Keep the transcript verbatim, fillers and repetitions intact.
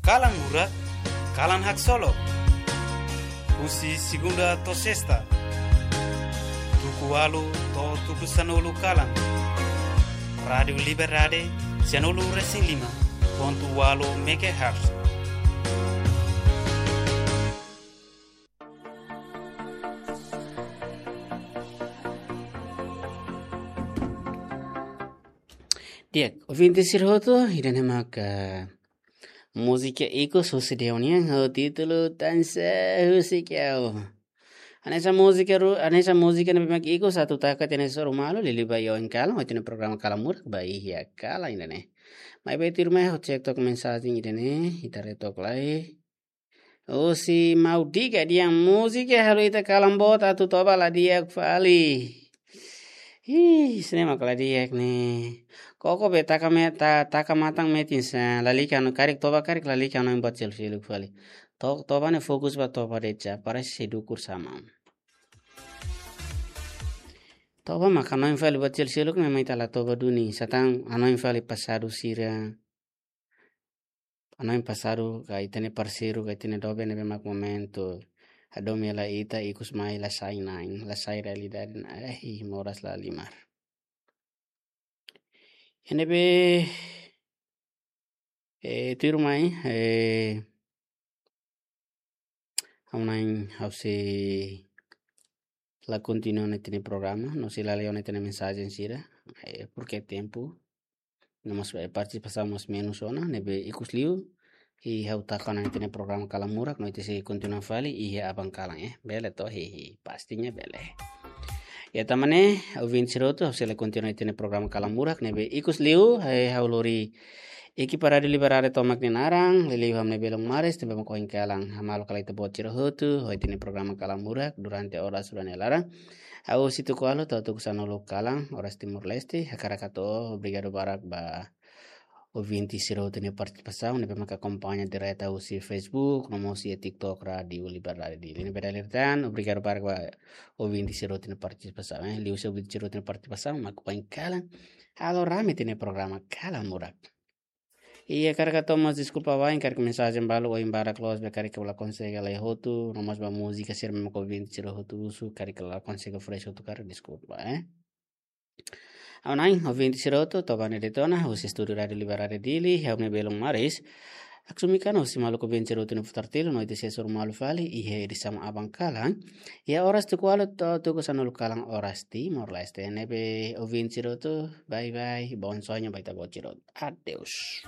Kalan Murak, kalan haksolok. Husi segunda to'o sesta, tuku ualu to'o tuku sanulu kalan. Rádiu Liberdade, sanulu resin lima pontu ualu megahertz. Di'ak, ouvinte sira hotu, ida-ne'e maka múzika ikus husi Deonian, ho títulu Tansa Husik Ha'u. Hanesan múzika ru-, hanesan múzika ne'ebé mak ikus atu taka tiha ona iha soru malu, liuliu ba iha oin kalan, ho ita-nia programa Kalan Murak ba iha kalan ida-ne'e. Maibé tuirmai ha'u cek took mensajen ida-ne'e, ita haree took lai. Husi Maudiga dehan múzika halo ita kalan boot atu toba la di'ak fali. Ih, ida-ne'e mak la di'ak ne'e. Koko be taka me-, ta-, taka matan metin sa, lalika no karik toba karik lalika no buat seluk-seluk fali. To-, toba ne'e fokus ba toba de'it sa, parese sei dukur sama. Toba mak hanoin fali buat seluk-seluk ne'e mai ita la toba duni, satán hanoin fali pasadu sira. Hanoin pasadu ka ita-nia parseiru ka ita-nia doben ne'ebé mak momentu hadomi hela ita ikus mai la sai na'in, la sai realidade na'in, eh, ih, moras la halimar. Iha ne'ebé, eh, tuirmai, eh, ha'u na'in ha'u sei la kontinua ona ita-nia programa, no sei la lee ona ita-nia mensajen sira, eh, porke tempu, no mós, eh, partisipasaun mós menus ona, ne'ebé ikus liu, i ha'u taka ona ita-nia programa Kalan Murak, no ita sei kontinua fali, iha aban kalan, eh, bele to, hi, hi, pastinya bele. Ya, tanba ne'e, ouvinte sira hotu, ha'u sei la kontinua ita-nia programa Kalan Murak, ne'ebé ikus liu, eh, ha'u lori ekipa Rádiu Liberdade tomak nia naran, liuliu ha'u-nia belun maris, tanba mak oin kalan, hamaluk hela ita-boot sira hotu, ho ita-nia programa Kalan Murak, durante oras rua nia laran. Hahú husi tuku ualu to'o tuku sanulu kalan, oras Timor-Leste, hakarak hato'o, obrigadu barak ba ouvinte sira hotu nia partisipasaun, ne'ebé maka akompaña direta husi Facebook, no mós iha TikTok Rádiu Liberdade Dili. Ne'ebé dala ida tan, obrigadu barak ba ouvinte sira hotu nia partisipasaun, eh. Liuhusi ouvinte sira hotu nia partisipasaun, mak oin kalan, halo rame ita-nia programa Kalan Murak. I hakarak hato'o mós deskulpa wa'in, karik mensajen balu oin barak loos be karik la konsege lee hotu, no mós ba múzika sira mak ouvinte sira hotu husu, karik la konsege fresh hotu karik deskulpa, eh. Ha'u na'in, ouvinte sira hotu, toba ne'e de'it ona, husi estúdiu Rádiu Liberdade Dili, ha'u-nia belun maris. Haksolok mai husi maluk ouvinte sira hotu nia futar tilu, no ita sei hasoru malu fali, iha edisaun aban kalan. Iha oras tuku ualu to'o tuku sanulu kalan oras Timor-Leste. Ne'ebé ouvinte sira hotu, bye bye, bom sonho ba ita-boot sira hotu. Adeus.